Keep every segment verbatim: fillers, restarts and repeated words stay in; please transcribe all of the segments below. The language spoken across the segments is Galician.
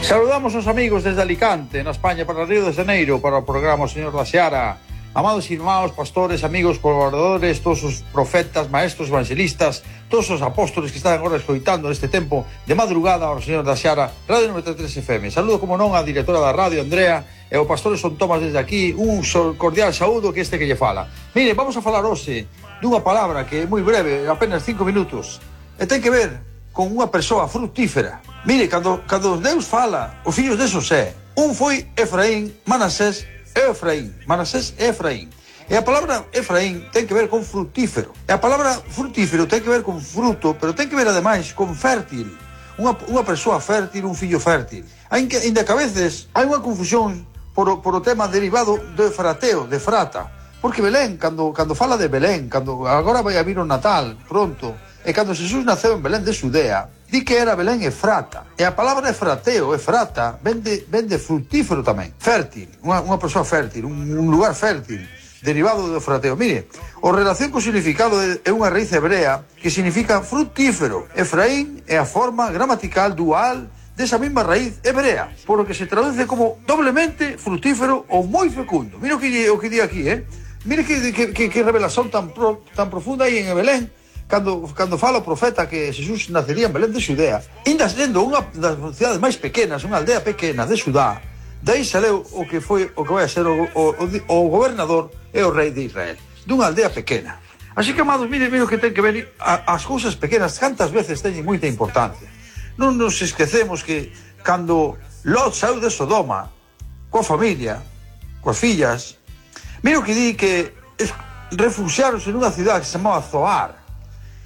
Saludamos aos amigos desde Alicante, na España, para Río de Janeiro, para o programa O Señor da Seara. Amados irmãos, pastores, amigos, colaboradores, todos os profetas, maestros, evangelistas, todos os apóstoles que están agora escoitando neste tempo de madrugada ao Señor da Seara, Radio noventa e tres F M. Saludo, como non, a directora da radio, Andrea, e o pastor Son Tomás desde aquí. Un cordial saúdo que este que lle fala. Mire, vamos a falar hoxe dunha palabra que é moi breve, apenas cinco minutos, e ten que ver con unha persoa frutífera. Mire, cando, cando Deus fala os fillos de Xosé, un foi Efraín, Manasés e Efraín. Manasés e Efraín. E a palabra Efraín ten que ver con frutífero. E a palabra frutífero ten que ver con fruto, pero ten que ver ademais con fértil. Unha, unha persoa fértil, un fillo fértil. Ainda que, que a veces hai unha confusión por o, por o tema derivado de frateo, de frata. Porque Belén, cando, cando fala de Belén, cando agora vai a vir o Natal, pronto, e cando Jesús naceu en Belén de Xudea, di que era Belén Efrata. E a palabra efrateo, Efrata, ven de, ven de frutífero tamén. Fértil, unha, unha persoa fértil, un, un lugar fértil, derivado do frateo. Mire, o relación co significado é unha raíz hebrea que significa frutífero. Efraín é a forma gramatical dual desa mesma raíz hebrea, por lo que se traduce como doblemente frutífero ou moi fecundo. Mira o que, o que di aquí, eh? Mire que, que, que, que revelación tan, pro, tan profunda aí en Belén. Cando, cando fala o profeta que Jesús nacería en Belén de Xudea, ainda sendo unha das cidades máis pequenas, unha aldea pequena de Xudá, daí saleu o que foi o que vai a ser o, o, o gobernador e o rei de Israel, dunha aldea pequena. Así que, amados, mire, mire o que ten que ver a, as cousas pequenas, cantas veces teñen moita importancia. Non nos esquecemos que cando Lot saiu de Sodoma coa familia, coas fillas, mire o que di que refugiaronse nunha cidade que se chamaba Zoar.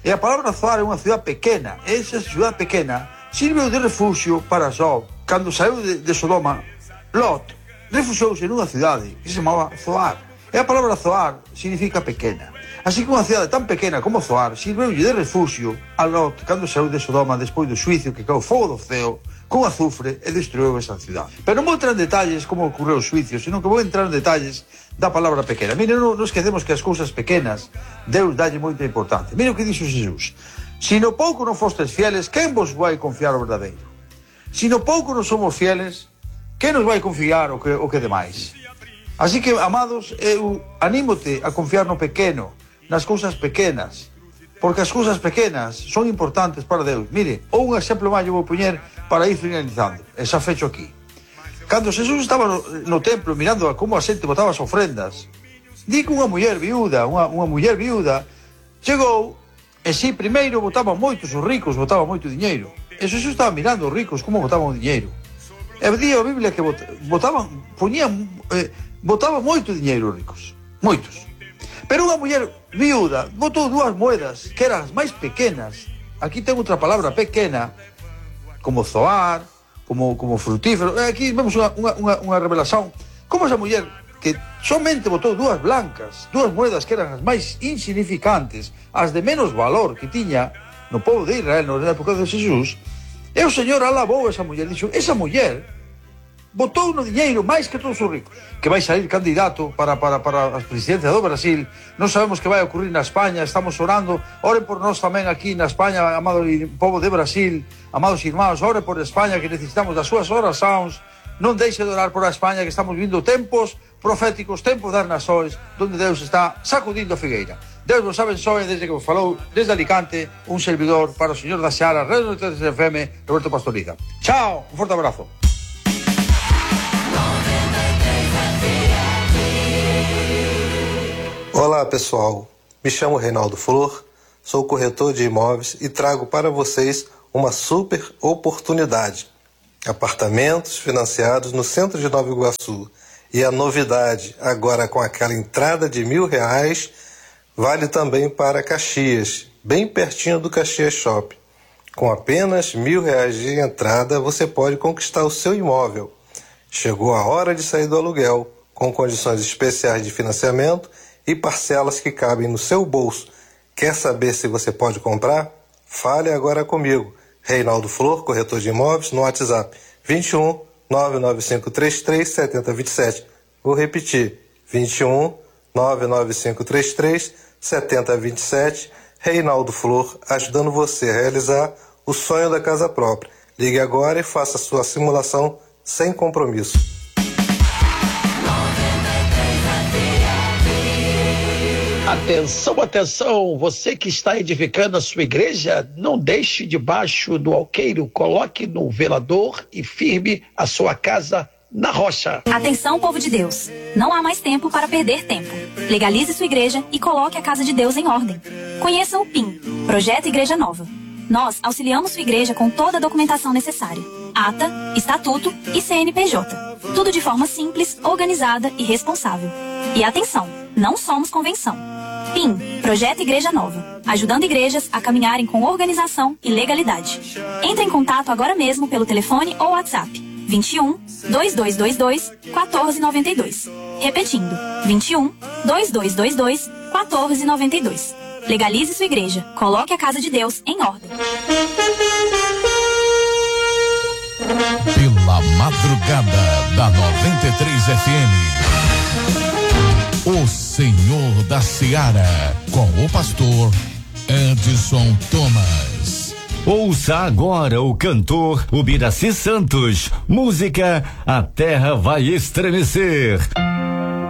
E a palabra Zoar é unha cidade pequena. E esa cidade pequena sirveu de refugio para Job. Cando saiu de, de Sodoma, Lot refuxiouse nunha cidade que se chamaba Zoar. E a palabra Zoar significa pequena. Así que unha cidade tan pequena como Zoar sirveulle de refugio a Lot cando saiu de Sodoma despois do xuicio que caeu fogo do ceo con azufre e destruiu esa cidade. Pero non vou entrar en detalles como ocorreu o xuicio, sino que vou entrar en detalles da palabra pequena. Mire, non, non esquecemos que as cousas pequenas Deus dalle moita importancia. Mire o que dixo Jesús: si no pouco non fostes fieles, quen vos vai confiar o verdadeiro? Si no pouco non somos fieles, quen nos vai confiar o que, o que demais? Así que, amados, eu anímote a confiar no pequeno, nas cousas pequenas, porque as cousas pequenas son importantes para Deus. Mire, un exemplo máis eu vou poñer para ir finalizando, e xa fecho aquí. Cando Jesús estaba no, no templo mirando a como a xente botaba as ofrendas, di que unha muller viúda, unha, unha muller viúda, chegou, e si primeiro botaban moitos, os ricos botaban moito diñeiro, e Jesús estaba mirando os ricos como botaban o diñeiro. E di a Biblia que botaban, poñían, eh, botaban moito diñeiro os ricos, moitos. Pero unha muller viúda botou dúas moedas que eran as máis pequenas. Aquí ten outra palabra pequena, como zoar, como, como frutífero. Aquí vemos unha, unha, unha revelación. Como esa muller que somente botou dúas blancas, dúas moedas que eran as máis insignificantes, as de menos valor que tiña no povo de Israel na época de Jesús, e o Señor alabou esa muller. Dixo, esa muller botou no diñeiro máis que todos os ricos. Que vai salir candidato para, para, para a presidencia do Brasil. Non sabemos que vai ocurrir na España. Estamos orando. Oren por nós tamén aquí na España, amado povo de Brasil. Amados irmãos, oren por España, que necesitamos das súas oracións. Non deixe de orar por a España, que estamos vindo tempos proféticos, tempos das nações, onde Deus está sacudindo a figueira. Deus vos abençoe desde que vos falou desde Alicante un servidor para o Señor da Seara, Radio noventa e tres F M, Roberto Pastoriza. Chao, un forte abrazo. Olá pessoal, me chamo Reinaldo Flor, sou corretor de imóveis e trago para vocês uma super oportunidade. Apartamentos financiados no centro de Nova Iguaçu. E a novidade, agora com aquela entrada de mil reais, vale também para Caxias, bem pertinho do Caxias Shopping. Com apenas mil reais de entrada, você pode conquistar o seu imóvel. Chegou a hora de sair do aluguel, com condições especiais de financiamento e parcelas que cabem no seu bolso. Quer saber se você pode comprar? Fale agora comigo, Reinaldo Flor, corretor de imóveis, no WhatsApp vinte e um, nove nove cinco três três, sete zero dois sete. Vou repetir, vinte e um, nove nove cinco três três, sete zero dois sete. Reinaldo Flor, ajudando você a realizar o sonho da casa própria. Ligue agora e faça sua simulação sem compromisso. Atenção, atenção, você que está edificando a sua igreja, não deixe debaixo do alqueiro, coloque no velador e firme a sua casa na rocha. Atenção, povo de Deus, não há mais tempo para perder tempo. Legalize sua igreja e coloque a casa de Deus em ordem. Conheça o P I M, Projeto Igreja Nova. Nós auxiliamos sua igreja com toda a documentação necessária. Ata, Estatuto e C N P J. Tudo de forma simples, organizada e responsável. E atenção, não somos convenção. P I M, Projeto Igreja Nova, ajudando igrejas a caminharem com organização e legalidade. Entre em contato agora mesmo pelo telefone ou WhatsApp vinte e um, dois dois dois dois, quatorze noventa e dois. Repetindo, vinte e um, dois dois dois dois, quatorze noventa e dois. Legalize sua igreja, coloque a casa de Deus em ordem. Pela madrugada da noventa e três F M, o Senhor da Seara, com o pastor Edson Thomas. Ouça agora o cantor Ubiraci Santos, música A Terra Vai Estremecer.